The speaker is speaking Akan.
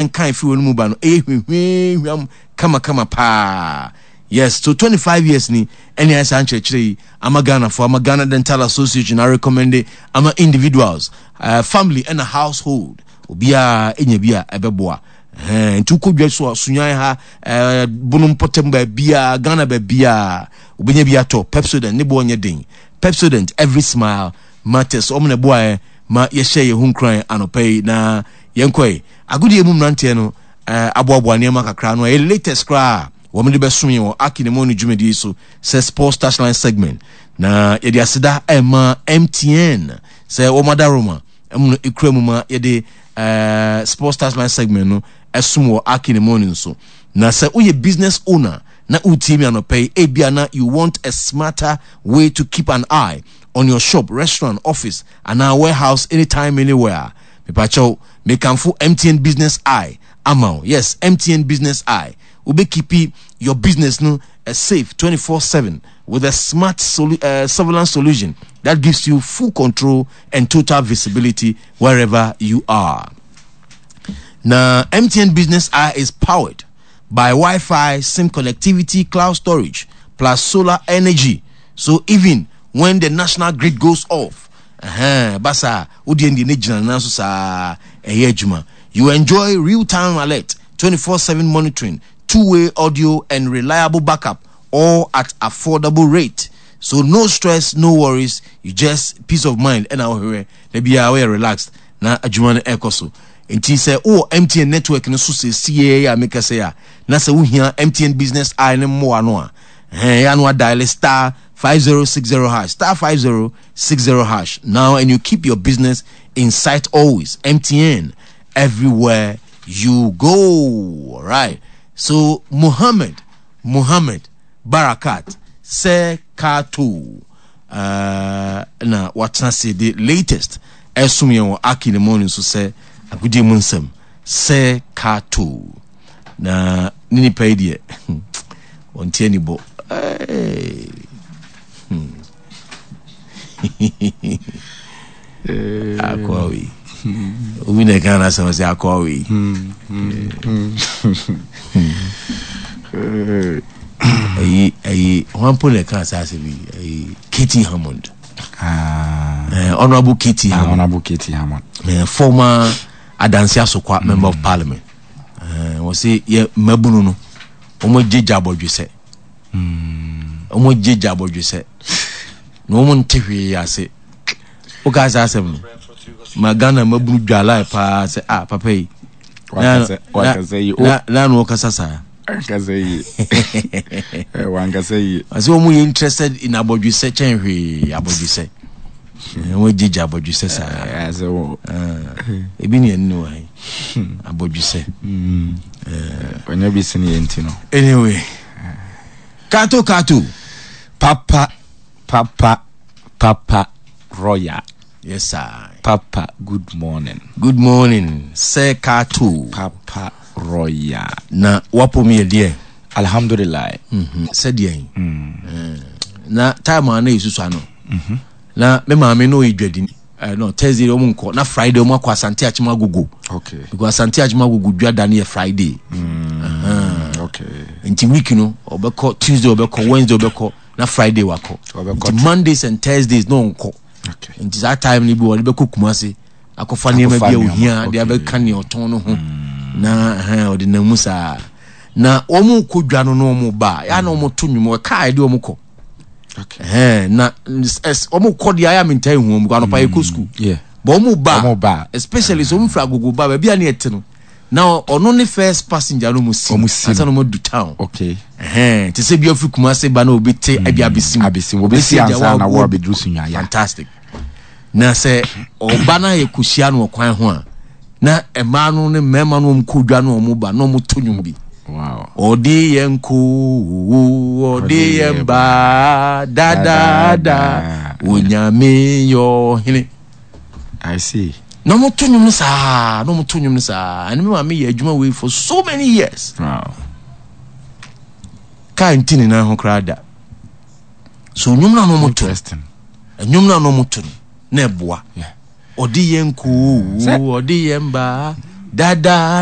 Nka efi wɔn mu ba no ɛyɛ hwehwehwam kamakama paa. Yes, so 25 years ni ɛne ayɛ saa nkyerɛkyerɛ yi ama Ghanafoɔ, ama Ghana Dental Association arecommende ama individuals, family ɛna household, obiara ɛnya bi a ɛbɛboa. Ɛhɛn, nti wokɔ dwa so a, Sunyan ha, Bono mpɔtam baabiara, Ghana baabiara, wobɛnya bi atɔ. Pepsodent, ne boɔ nyɛ den. Pepsodent, every smile matters. Wɔn na ɛboaeɛ ma yɛhyɛ yɛn ho nkuran anɔpa yi na yɛnkɔe. Agodie mu mmeranteɛ no aboaboa nneɛma kakra ano a ɛyɛ latest koraa a wɔde bɛsom yɛn wɔ Aki ne Moni dwumadie yi so sɛ Sports Touchline segment. Na yɛde aseda ɛma MTN sɛ wɔn adaworoma mu no ekura mu ma yɛde Sports Touchline segment no ɛsom wɔ Aki ne Moni nso. Na sɛ woyɛ business owner na wotie mi anɔpa yi, ebia na you want a smarter way to keep an eye on your shop, restaurant, office anaa warehouse anytime anywhere. Mepakyɛw, mekamfo MTN Business Eye ama wo. Yes, MTN Business Eye. Wobɛ keepi your business no safe 24/7 with a smart surveillance solution that gives you full control and total visibility wherever you are. Na MTN Business Eye is powered by Wi-Fi, SIM connectivity, cloud storage, plus solar energy. So even when the national grid goes off, ɛhɛn, ba saa, wo deɛ deɛ ne gyina ne nan so saa, ɛyɛ adwuma. You enjoy real-time alert, 24/7 monitoring, two-way audio and reliable backup, all at affordable rate. So no stress, no worries, you just peace of mind ɛna wohwehwɛ, da biara woyɛ relaxed na adwuma no ɛkɔ so. Nti sɛ wowɔ MTN network no so seesei a meka sɛ a, na sɛ wohia MTN Business Eye no mmoa no a, ɛhɛn, ɛyɛ a na wadial star 5060 hash, star 5060 hash now and you keep your business in sight always. MTN, everywhere you go. All right. So Muhammad, Muhammad Barakat, Sir Kato, na watena se the latest ɛsom yɛn wɔ Aki ne Morning so sɛ agodie mu nsɛm Sir Kato. Na ne nipa yi deɛ wɔnte ani bɔ. Hey. Akoa wei. Obi na ɛka no asɛm sɛ akoa wei. Ɛyi ɛyi hwan po na ɛka saa asɛm yi ɛyi Katie Hammond. Ah. Honorable Katie ah, Hammond. Honorable Katie Hammond. Former Adansi Asokwa mm. Member of Parliament. Wọ́n sɛ yɛ mmabunu no wɔn gye gya abɔdwesɛ. Wɔn gye gya abɔdwesɛ na wɔn nte hwee ase. Wokaa saa asɛm no ma Ghana mmabunu dwa line paa sɛ ah papa yi. Na na ɔkasa saa. Ankasa yie. Wankasa yie. Ɔsɛ wɔn yɛ interested in abɔdwesɛ kyɛn hwee abɔdwesɛ. Wɔn gye gya abɔdwesɛ saa. Ebi ni ɛni wɔ ha yi abɔdwesɛ. Ɔnyɛ bi sini yɛn ti no. Anyway, kato kato. Papa papa papa royal. Yes sir. Papa good morning. Good morning sir Kato. Papa royal. Na wapom yɛ deɛ. Alhamdulillah. Mm -hmm. Sɛ deɛ. Mm. Na time a na yɛsusua no. Mm -hmm. Na me maame no ɔyɛ dwadini. No Thursday wɔn nkɔ na Friday wɔn akɔ Asante Akyem Agogo. Okay. Because Asante Akyem Agogo dwa da no yɛ Friday. Mm. Uh -huh. Okay. Nti week no ɔbɛkɔ Tuesday ɔbɛkɔ Wednesday ɔbɛkɔ na Friday wakɔ. Nti Mondays and Thursdays na ɔnkɔ. Okay. Nti saa time no bi wɔde bɛkɔ Kumasi akɔfa nneɛma bi a ohia de abɛka nea ɔtɔn no ho mm. na ɔde nam mu saa. Na wɔn kɔ dwa no na wɔn ba ya na wɔn to nnwom kaa yɛde wɔn kɔ. Na wɔn kɔ deɛ ayɛ a mentaa ehu wɔn kɔ anɔpa yɛ kɔ sukuu. Bɔn wɔn ba especially sɛ wɔn firi agogo ba baabi a ne yɛ te no. Na ɔno ne first passenger no mu si ansa na ɔmo du town. Okay. Ɛhɛn te sɛ bi afiri Kumasi ba na obi te ebi mm, abesim. Abesim obi si ansa na wɔ abeduru Sunyaya. Fantastic. Na sɛ ɔba na yɛ kɔhyia no ɔkwan ho a na mmaa no ne mmarima no wɔn kɔ dwa no wɔn ba na wɔn to nnwom bi. Wow. Ɔde yɛn ko ɔde yɛn ba dadaada onyame yɛ ɔhene. I see. Na wɔn to nnwom no saa na wɔn to nnwom no saa ɛna mi maame yɛ adwuma wei for so many years. Wow. Kaa nti ne nan ho koraa da. So nnwom no na wɔn to. Nnwom no na wɔn to no na ɛboa. Ɔde yɛn koo ɔde yɛn ba dadaada.